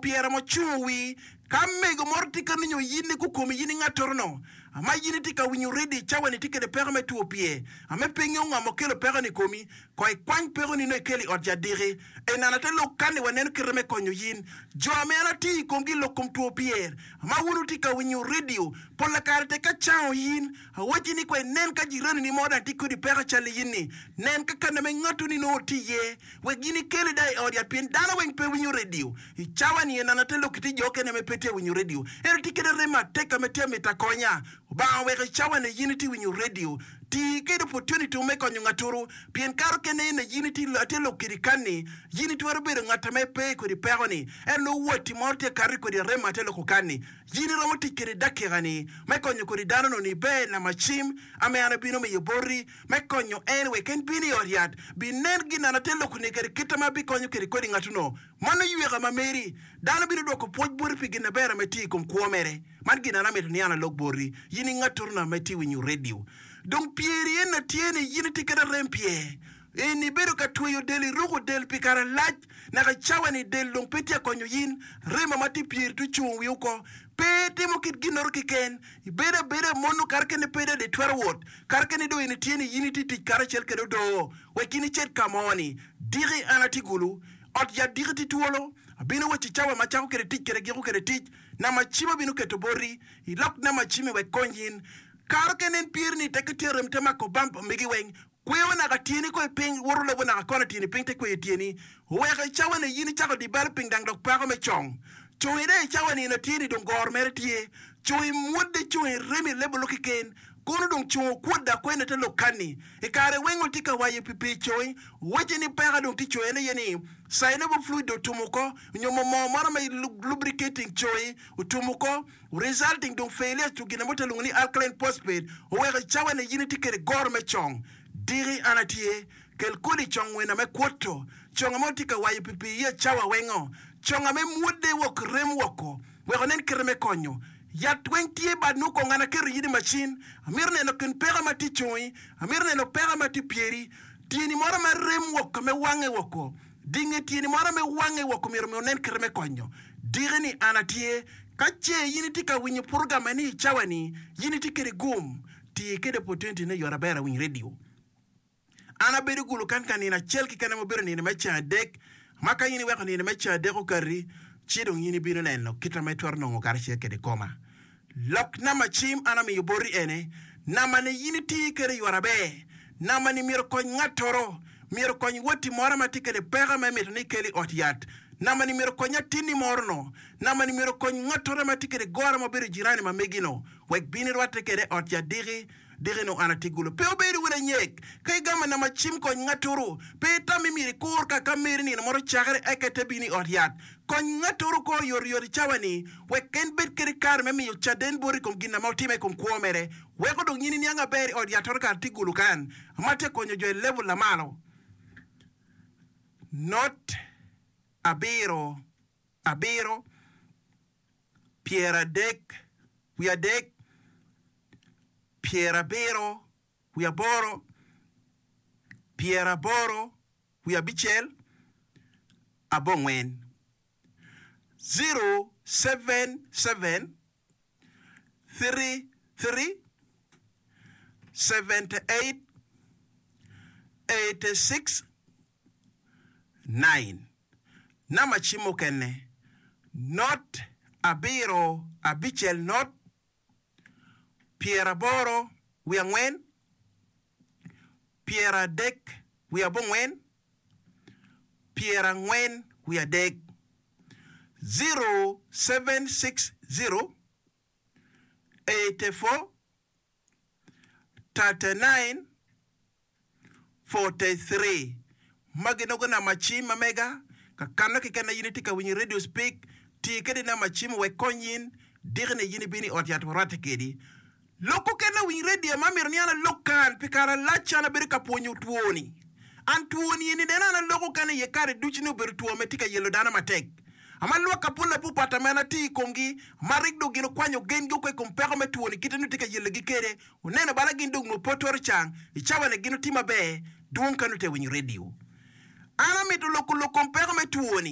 Pyera ma ocungo wi ka mego moro tye ka ninyo yin ni gukomi yin i ngatoro no ma yin itye ka winyo redio i cawa ni itye kede peko me two pyer ame pe ingeyo ngo ma okelo peko ni i komi ko ikwany peko ni no ikel i ot yat diki enana te lok kan ni waneno kite me konyo yin jo ame an atiyo i komgi i lok kom two pyer ma wun wutye ka winyo redio pola kare tek ka cango yin awacci ni ko inen ka jirani ni mo dang tye kodi peko cal i yin ni nen ka kane me ngatu ni nongo tye iye Wek gin ikele da i ot yat pien dano weng pe winyo redio. I cawa ni en ate lok ki jo okene me pe tye winyo redio. Ento tye kede rem matek ka me tye mito akonya. Obanga oweko i cawa ni yin itye winyo redio. Ti kede opportunity me konyo ngaturu pien kare okene ene yin itye atye lok kedi kanni yin itwero bedo ngat ame pe kodi peko ni ento nongo watti moro tye kati kodi arem ate loko kanni. Yin iromo tic kede dakika ni me konyo kodi dano no ni ber nama cim ame an abino miyo boti. Me konyo en wek en bin i ot yat, binen ginana te loko-ni kede kite ma bikonyo kede kodi ngatuno. Mano yweka ma meri. Dano bino dwoko pwoc boti pi gin aber ma itye i kom kwo mere. Man gin an amito ni an alok boti, yin i ngaturuna ma itye winyo redio. Dong pyeri en tye ni yin itye kede arem pyer. En ibedo ka tweyo del iruko del pi kare lac naka i cawa ni del dong pe tye ka konyo yin. Remo ma tye pyeri tye ocungo wi oko. Pe itimo kit ginnoro keken. Ibedo abeda mono kare kene pe dong itwero wot. Kare kene dong in itye ni yin itye tic karacel kede odoo wek in icit ka mo ni. Diki an atye gulu. Ot yat diki tye twolo. Abino wacci cawa ma acako kede tic kede giko kede tic. Namba cim abino keto boti. Ilok namba cimmi wek kony in. Kare kene en pyeri ni tekke tye rem te mako bamp megi weng. Kweyo naka tyeni ko i piny, woto lobo naka kona tyeni piny te kweyo tyeni. Oweko i cawa-ni in icako di balo piny dang dok peko me cong. Congi dong i cawa-ni in atyeni dong goro mere tye. Congi mwodde congi remi lebolo keken. Kono dong congo kwodde akwena te lok kanni. I kare weng ol tye ka wayo pi pii congi, wacce ni peka dong tye congi en aye ni synovial fluid dong otum oko nyo mo moo moro me lubricating congi otum oko resulting dong failure to gin mo te lwongo ni alkaline phosphate oweko i cawa ni in itye kede goro me cong. Diki an atye, kel kodi cong wena me kwoto conga ma otye ka wayo pi pii iye cawa wengo, conga me mwodde wok rem woko wek onen kite me konyo. Yat weng tye bad nwo kong an aketo yin i macin, amito neno kin peko ma tye congi, amito neno peko ma tye pyeri, tyeni moro ma rem woko me wange woko. Dinge tyeni moro me wange woko myero omi onen kite me konyo. Diki ni an atye. Ka ce in itye ka winyo program eni i cawa ni, in itye kede gum, ti kede opportunity ne yot aber awiny radio. An abedo gulu kan ka nino acel keken ma obedo nino me ceng adek, ma ka in iweko nino me ceng adek okati, ci dong in ibino neno kita ma itwero nongo karacel kede koma. Lok namba cim an amiyo boti ene, namba ni in iti kede ywar aber, namba ni myero okony ngattoro, myero okony watti moro ma tye kede peko ma imito ni ikel i ot yat, namba ni myero okony atinni moro no, namba ni myero okony ngattoro ma tye kede goro ma obedo jirani ma megi no, wek bin irwatte kede i ot yat diki, diki nongo an atye gulu. Pe obedo wun anyek ka igamo namba cim kony ngattoro, pe itam ni myero ikur ka ka meri nino moro ocakere eka ite bino i ot yat. Kony ngattoro oko oyotoyot i cawa ni wek en bed kede kare me miyo caden boti i kom gin ma otime i kom kwo mere. Weko dong in iniang aber i ot yat toto kare tye gulu kan ma tye konyo jo i level lamalo. Not abiro abiro pyeradek wiadek pyerabiro wiaboro pyeraboro wiabicel abongwen 077 33 78 86 9 Namba cim mukene, not abiro abicel not pyeraboro wiangwen pyeradek wiabongwen pyerangwen wiadek 0760 84 39 43 Magi nongo namba cim ma mega, ka kanno keken ma in itye ka winyo radio speak, ti kede namba cim wek kony in, diki ni in ibino i ot yat warwatte kedi. Lok okene lawiny radio ma amito ni an alok kan pi kare alac an abedo ka pwonyo two ni. An two ni eni nene an aloko kan iye kare ducu ni obedo two me tye ka yelo dano matek. Ama lwak apol apupat ame an atiyo i komgi, ma rik dong gin okwanyo gengi oko i kom peko me two ni kite nongo tye ka yelogi kede. Oneno bala gin dong nongo pe otwero cang i cawa ni gin oti maber dwong ka nongo tye ka winyo radio. An amito loko lok kom peko me two ni.